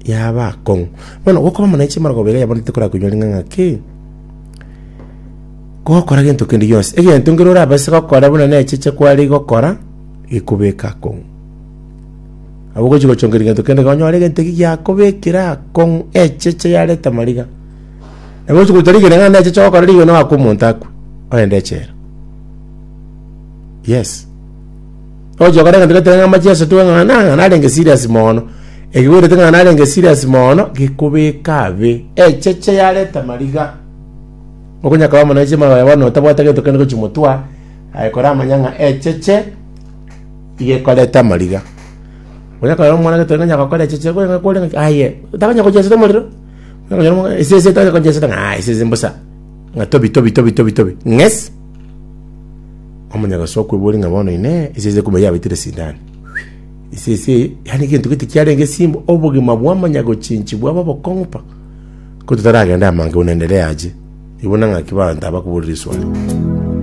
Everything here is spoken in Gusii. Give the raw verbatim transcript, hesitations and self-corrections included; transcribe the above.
Yaba akong'u. Bono gokoba mono chimarogoba iga yabonete korakoinyora ng'a ng'aki, gokora gento kende gionsi, egento nkere orabase gokora buna na echeche kware gokora, gekobeka akong'u. Nabo ogochi gochongeria gento kende iga onyore egento eki giakobekire akong'u echeche yareta mariga. Nabo ogochi gocha rigena ng'a na echeche ogokora rigena oakwe omonto akwe, ogende echela. Yes. Ogochi gokora egento gete ng'a amacheso tu ng'a ng'a narenge serious mono, ekigwerete ng'a narenge serious mono, gekobeka abe, echeche yareta mariga. Okonya koba mono chimarogoba bono otabwate gento kende gochia motwa, aye koramanya ng'a echeche iga ekoreta amariga. Onya korora omwana gete onya gokora echeche kore kore ng'aki aye, otakonya gochesete omorero, onya konyora omwana esese etanya gochesete ng'a esese mbosa, ng'a tobi tobi tobi tobi tobi, ng'es. Omanya gosoa okoiboria ng'a bono inee, esese kumbe yabetire sindani. Esese eye, yaani egento gete kiarenge simba, obogima bwamanya gochenchi bwaba obokong'u pa, ko totaragenda amange buna endelea ache, igo buna ng'aki abanto abakoboria riswali.